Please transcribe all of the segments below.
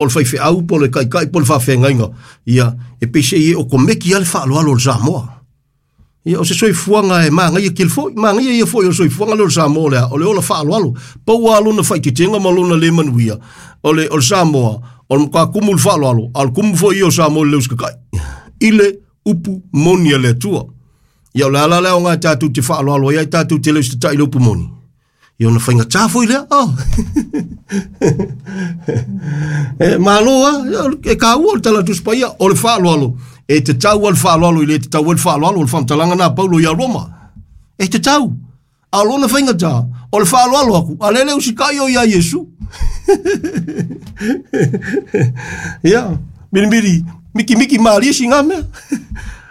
O le faifeau po o le taitai po o le faafeagaiga, ia, e peiseai e okomeki lava le faaaloalo o le Samoa. Ia, o se soifuaga e manaia tele foi, manaia ia foi o le soifuaga lea o le Samoa o le a? O le ola faaaloalo. Pau lava lona faaeteetega ma lona le manuia, o le, o le Samoa, o le matua tumu i le faaaloalo, a o le tumu foi ia o Samoa i le le usitatai i le upu moni a le Atua. Ia, o le ala lea aoga tatou te faaaloalo ai, ai tatou te le usitatai i le upu moni. Ia ona faigata foi lea. Oh. E malo a, e kāua o le tala Tusi Paia, o le faaaloalo, e tatau a le faaaloalo i le tatau ai le faaaloalo, o le faamatalaga na a Paulo ia Roma. E tatau. A o lona faigata, o le faaaloalo aku, a lele usitai o ia Iesu. Ia, milimili, mikimiki malie sina mea.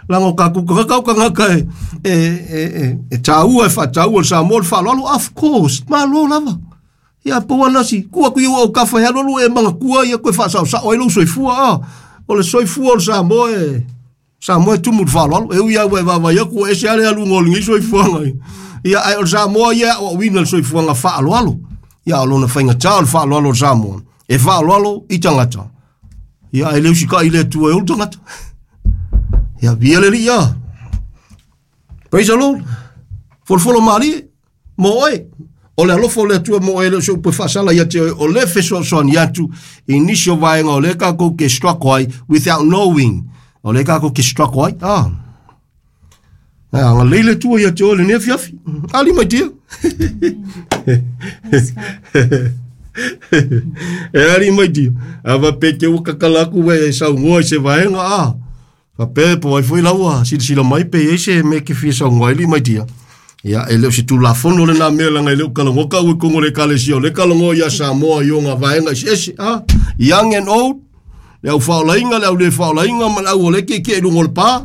Leaga o tatou tagata o tagata e, e, e, e, e tāua, e faataua le Samoa le faaaloalo, of course, malo lava. Ia, pau ana si, tuu atu i ou autafa e alualu e manatua ia toe faasaosao ai lou soifua, a. O le soifua o le Samoa e, Samoa e tumu i le faaaloalo. E ui lava ua e vaavaai atu ua ese lava le aluga o lenei soifuaga. Ia, ae o le Samoa ia e aoaoina le soifuaga faaaloalo. Ia, o lona faigata o le faaaloalo o le Samoa, e faaaloalo i tagata. Ia, ae le usitai i le Atua e ou tagata. Ia, via le Alii a. Praise the Lord. Folofolo malie, mo oe. O le alofa o le Atua mo oe, le o se upu e faasala ia te oe, o le fesoasoani atu i nisi o vaega o lea tatou te struggle ai without knowing. O lea tatou te struggle ai. Ah. Ah, agalelei le Atua ia te oe lenei afiafi. Ali mai tia. E ali mai tia. A faapea te ua kakala atu e saunoa i se vaega a. Faapea po ai foi laua silasila mai pe i ai se mea ke fia saunoa ai li mai tia. Ia, e le o se tulafono lena mea leaga e le o talanoa kau i totonu o le ekalesia, o lea e talanoa ia Samoa i ona vaega eseese, a, young and old, le au faaolaina, le au le faaolaina, ma le au o lea e tietie i luga o le pa,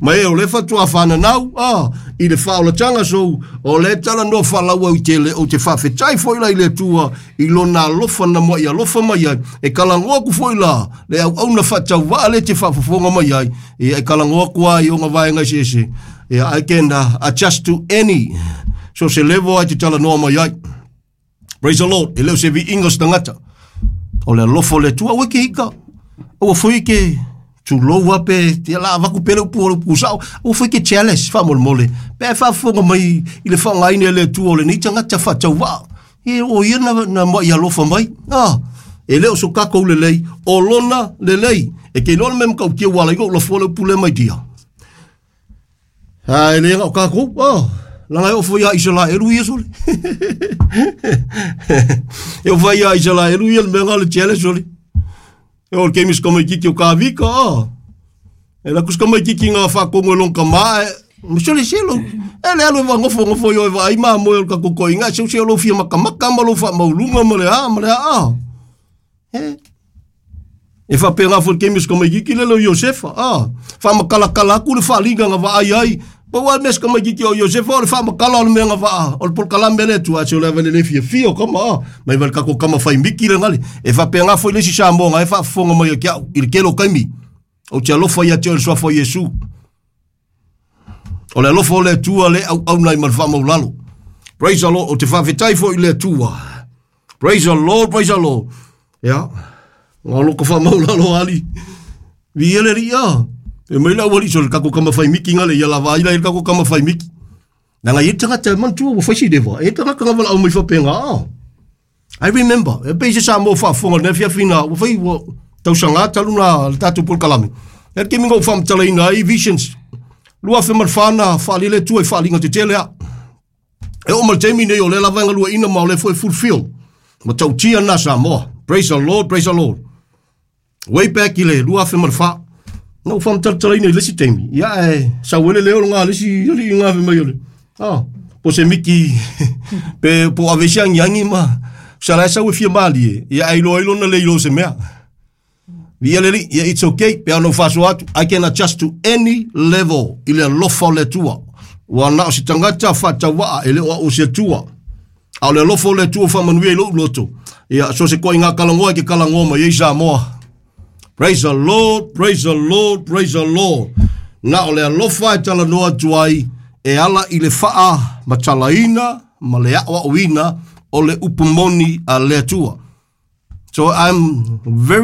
ma e o lea faatoa fananau, a, i le faaolataga. So, o lea e talanoa faalauaitele, ou te faafetai foi la i le Atua i lona alofa na muai alofa mai ai, e talanoa atu foi la le auauna faatauvaa lea e te faafofoga mai ai, ia e talanoa atu lava i ona vaega eseese, ia I can adjust to any, so se level ai te talanoa mai ai. Praise the Lord. E le o se viiga o se tagata. O le alofa o le Atua, aua e ke ika. Aua foi e ke tulou a pe, ia la avaku pe le upu o le upu sao. Aua foi e ke jealous, faamolemole. Pe a e faafofoga mai i le faaaogaina e le Atua o lenei tagata faatauvaa. E o ia na, na muai alofa mai. Ah, e le o so tatou lelei, o lona lelei. E te iloa le mea matautia ua ala ai ona ou lafoa le upu lea mai dia. A e le na o tatou, oh, leaga e oo foi ia Isaraelu ia sole. E oo foi ia Isaraelu ia le mea na o le jealous sole. E oo le taimi o si tamaititi o Kavika, oh. E alu atu si tamaititi na faatonu e lona tama, e, sole se lou, e le alu e vaanofonofo i o e vaai mamoe o le tatou toeaina, e seu se o lou fia matamata ma lou faamaualuga ma le a ma le a, ah. E, E faapena foi le taimi o si tamaititi lele o Iosefa, a, faamatalatala atu le faaaliga na vaai ai. Pau lava le mea si tamaititi o Iosefa o le faamatala o le mea na vaa, o le polokalame a le Atua, ae se o le ava i le le fiafia o tama, a, mai vai le tatou tama fai miti le gale. E faapena foi le isi Samoa na e faafofoga mai ia te au i le tele o taimi. Ou te alofa ia te oe i le suafa o Iesu. O le alofa o le Atua le auauna ai ma le faamaulalo. Praise the Lord. Ou te faafetai foi i le Atua. Praise the Lord, praise the Lord. Ia, ngā loko faamaulalo ali. Vi ele ri a. E mai la wali so le kako kama whai miki ngale ia lava ila le kako kama whai miki. Nanga i tangata e mantua ua whai si dewa. E tangata ngā wala au mai whapenga a. I remember, e pei se Samoa faafofoga i le afiafi na, ua fai ua tausaga talu na le tatou polokalame. E le taimi na ou faamatalaina ai visions, 2004 na faaali le Atua i faaaliga tetele a. E oo mai le taimi nei o lea lava e galueaiina ma o lea foi e fulfill. Matautia lena Samoa. Praise the Lord, praise the Lord. Way back i le 2004, na ou faamatalatalaina i le isi taimi, ia ae sau ai le leo lena a le isi alii na fai mai o le, ah, po o se miki pe po o ave se agiagi ma sa la e sau e fia malie, ia ae iloa ai lona le iloa o se mea. Viia le Alii, ia it's okay, pe a ona ou faasoa atu, I can adjust to any level i le alofa o le Atua. Ua na o se tagata faatauvaa e le o au o se Atua. A o le alofa o le Atua faamanuia i lou loto. Ia, so se koiga talanoa e ke talanoa mai ai Samoa. Praise the Lord, praise the Lord, praise the Lord. Na o le alofa e talanoa atu ai e ala i le faa matalaina ma le aoaoina o le upu moni a le Atua. So I'm very